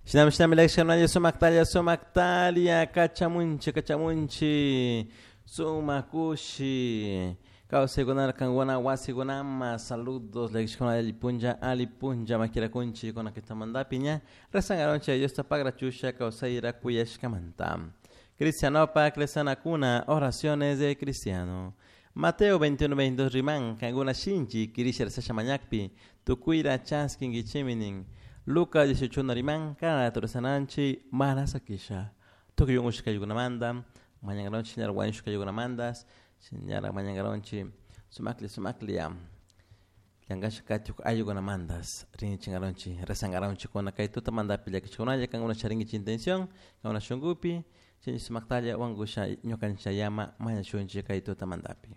Shinami shinami llakishkanalla sumaktalla sumaktalla kachamunchi kachamunchi sumak kushi kawsaykunara kankuna wasikunama saludos llakishkuna alli punlla alli punlla makirakunchik kuna kitamantapi ña rezangaronchik Diosta pagrachusha kawsayra kuyashkamanta. Cristianopak rezanakuna oraciones de cristiano. Mateo 21, 22 riman kankuna shinchi kirisha rezasha mañakpi tukuyra chaskinkichimi nin. Lucas 18 riman kana rezananchik mana sakisha. Tukuy unkushkaykunamanta mañankaronchik ña wañushkaykunamantas ñara mañankaronchik sumakli sumakli ya llankashka katuk ayllukunamantas rinchikaronchik rezankaronchik kuna kay tutamantapi llakichikunalla kankuna charinkichik intención kankuna shunkupi chay sumaktalla wankusha ñukanchayama mañashunchik kay tutamantapi.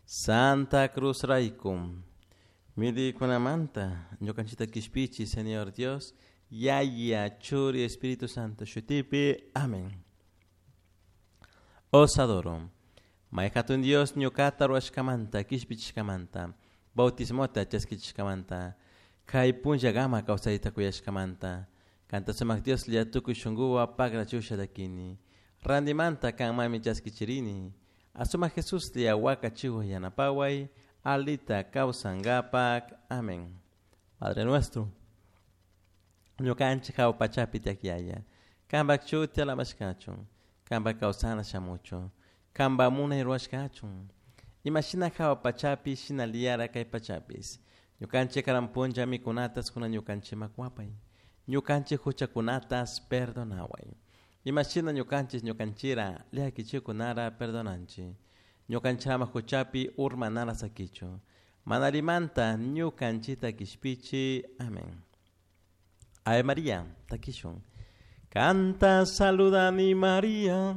Santa Cruz rayku midikunamanta ñukanchikta kishpichi Señor Dios Yaya Churi Espíritu Santo shutipi. Amén. Os adoro. May hatun Dios ñukata ruwashkamanta kishpichishkamanta bautismota chaskichishkamanta kay punllakama kawsayta kuyashkamanta kanta sumak Dioslla tukuy shunkuwan pagrachusha llakini rantimanta kanmami chaskichirini asumak Jesuslla wakachiwan yanapaway alita kawsankapak. Amén. Padre nuestro ñukanchik hawa pachapi tiyak yaya kanpak shuti alabashkachun kanpak kawsana shamuchun kanpak munay ruwashkachun imashina hawa pachapi shinallara kay pachapis ñukanchik karan punlla mikunatas kunan ñukanchikman kuwapay ñukanchik huchakunatas perdonaway imashina ñukanchik ñukanchira llakichikunara perdonanchik ñukanchik ama huchapi urmanara sakichun mana allimanta ñukanchikta kishpichi. Amén. Ave María, takishun. Kanta saludani María,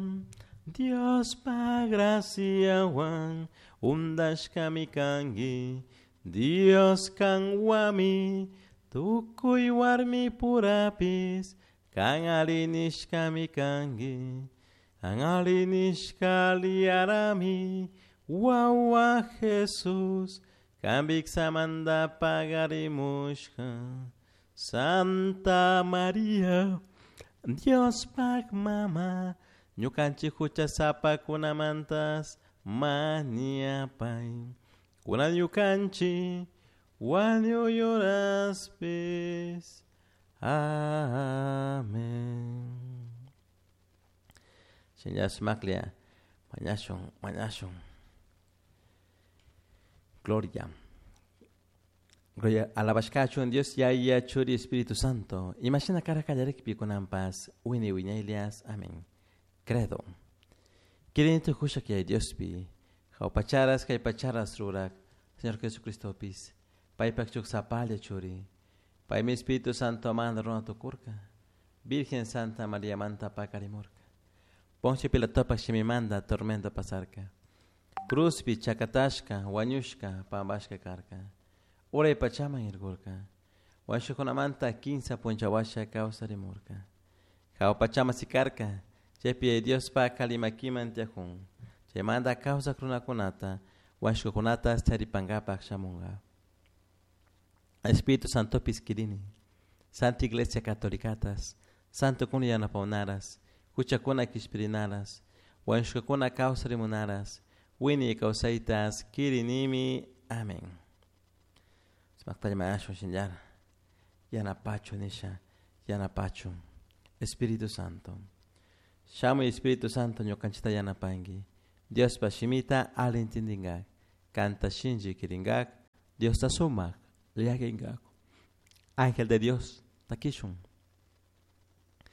Diospa graciawan undashkami kanki, Dios kanwami, tukuy warmi purapis, kan alli nishkami kanki, kan alli nishka aliyarami, wawa Jesús, kan viksamanta pagarimushka. Santa María, Diospak mama, ñukanchik huchasapakunamantas mañapay. Kunan ñukanchik wañuy horaspis. Amén. Shinlla sumaklla mañashun mañashun. Gloria. Gloria alabashkachun Dios Yaya Churi Espíritu Santo. Imashina kara kallarikpi kunanpas wini wiñaylias. Amén. Credo. Kirini tukusha kay Diospi. Jawpacharas kay pacharas rurak. Señor Jesucristopis. Paypak shuk sapalla churi. Paymi Espíritu Santo manda runa tukurka. Virgen Santa María manta pakarimurka. Poncio Pilatopak shimimanta tormento pasarka. Cruzpi chakatashka, wañushka, pampashka karka. Uray pachaman irkurka. Wañushkakunamanta kinsa punlla washa kawsarimurka. Hawa pachaman sikarka. Chaypi Diospak alli makiman tiyakun. Chaymanta kawsak runakunata, wañushkakunata charipankapak shamunka. Espíritu Santopis kirini. Santa Iglesia Catolicatas, Santo kuna yanapawnaras, huchakuna kishpirinaras, wañushkakuna kawsarimunaras, wiñay kawsaytas kirinimi. Amén. Sumaktalla mañashun shinllara yanapachu nisha yanapachu Espíritu Santo. Shamuy Espíritu Santo ñukanchikta yanapanki. Diospa shimita alli entendinkak, kanta shinchi kirinkak, Diosta sumak llakinkak. Ángel de Dios, takishun.